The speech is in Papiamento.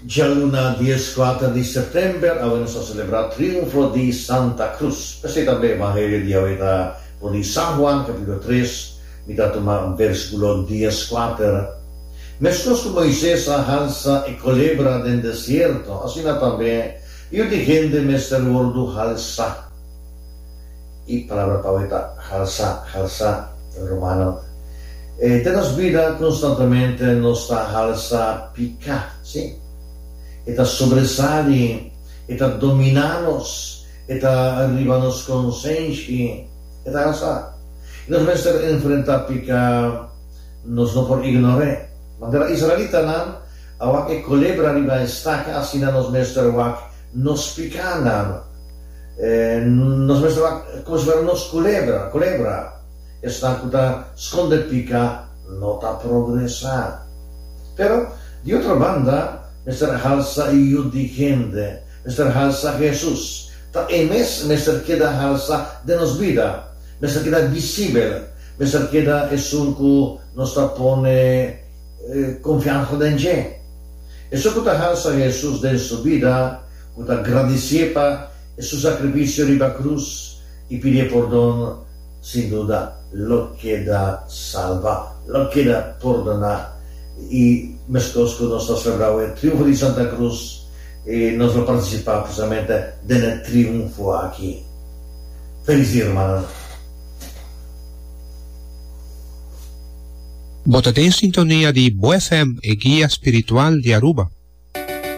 Djaluna dieskuater di sèptèmber awe nos ta selebrá Triunfo di Santa Cruz. P'esei tambe Evangelio di awe ta for di San Juan capítulo tres, mi ta tuma versículo dieskuater. Meskos ku Moises a halsa e kolebra den desierto, asina tambe Yu di hende mester wòrdu halsá. E palabra pa awe ta halsá, halsá, rumannan. Den nos bida konstantemente nos ta halsa piká, sí. E ta sobresali, e ta dominá nos, e ta riba nos konsenshi, e ta halsá. I nos mester enfrentá piká, nos no por ignor'é. Manera israelitanan a wak e kolebra riba e staka, asina nos mester wak nos pikánan. Nos mester wak komo si fuera nos kulebra, kolebra. Esnan ku ta skonde pika no ta progresá. Pero, di otro banda, mester halsa e Yu di hende, mester halsa Hesus. Ta e mes mester keda halsa den nos bida, mester keda visibel, mester keda esun ku nos ta pone konfiansa den dje. Esun ku ta halsa Hesus den su bida, ku ta gradisié pa su sakrifisio riba krus i pidié pordon, Sin duda lo keda salba, lo keda pordoná. I meskos ku nos ta selebrá e triunfo di Santa Cruz, nos lo partisipá precisamente den e triunfo aki. Felis dia, rumannan! Bo ta den sintonia di Bo FM, e guia spiritual di Aruba.